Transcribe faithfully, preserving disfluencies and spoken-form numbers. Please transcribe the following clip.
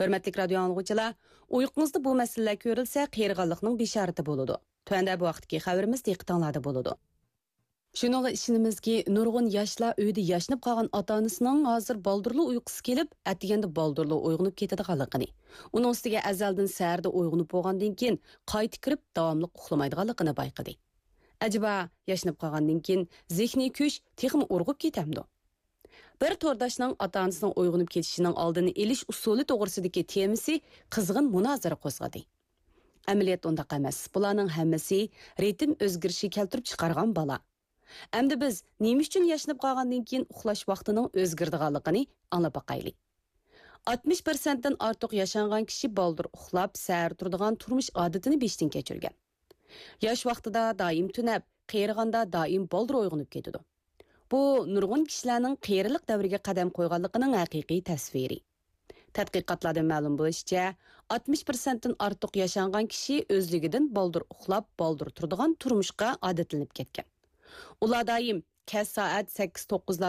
ھۆرمەتلىك رادىيو ئاڭلىغۇچىلار، ئۇيقۇڭىزدا بۇ مەسىلىلەر كۆرۈلسە، قېرىغانلىقنىڭ بېشارىتى بولىدۇ. تۆۋەندە بۇ ھەقتىكى خەۋىرىمىز دىققىتىڭلاردا بولىدۇ. شۇنىڭغا ئىشىنىمىزكى، نۇرغۇن ياشلار ئۆيدە ياشىنىپ قالغان ئاتا-ئانىسىنىڭ ھازىر بالدۇرلا ئۇيقۇسى كېلىپ، ئەتىگەندە بالدۇرلا ئويغىنىپ كېتىدىغانلىقىنى، ئۇنىڭ ئۈستىگە ئەزەلدىن سەھەردە ئويغىنىپ بولغاندىن كېيىن قايتا كىرىپ داۋاملىق ئۇخلىمايدىغانلىقىنى بايقىدى. ئەجەبا، ياشىنىپ قالغاندىن كېيىن زېھنىي كۈچ تېخىمۇ ئۇرغۇپ كېتەمدۇ؟ بىر تورداشنىڭ ئاتا-ئانىسىنىڭ ئويغىنىپ كېتىشىنىڭ ئالدىنى ئېلىش ئۇسۇلى توغرىسىدىكى تېمىسى قىزغىن مۇنازىرە قوزغىدى. ئەمەلىيەتتە ئۇنداق ئەمەس. بۇلارنىڭ ھەممىسى رىتىم ئۆزگىرىشى كەلتۈرۈپ چىقارغان بالا. ئەمدى بىز نېمە ئۈچۈن ياشىنىپ قالغاندىن كېيىن ئۇخلاش ۋاقتىنىڭ ئۆزگىرىدىغانلىقىنى ئاڭلاپ باقايلى. ئاتمىش پىرسەنتتىن ئارتۇق ياشانغان كىشى بالدۇر ئۇخلاپ، سەھەر تۇرىدىغان تۇرمۇش ئادىتىنى بېشىدىن كەچۈرگەن. ياش ۋاقتىدا دائىم تۈنەپ، قېرىغاندا دائىم بالدۇر ئويغىنىپ كېتىدۇ. بۇ نۇرغۇن كىشىلەرنىڭ قېرىلىق دەۋرىگە قەدەم قويغانلىقىنىڭ ھەقىقىي تەسۋىرى. تەتقىقاتلاردىن مەلۇم بولۇشىچە، ئاتمىش پىرسەنتتىن ئارتۇق ياشانغان كىشى ئۆزلۈكىدىن بالدۇر ئۇخلاپ، بالدۇر تۇرىدىغان تۇرمۇشقا ئادەتلىنىپ كەتكەن. ئۇلار دائىم كەچ سائەت سەككىز توققۇز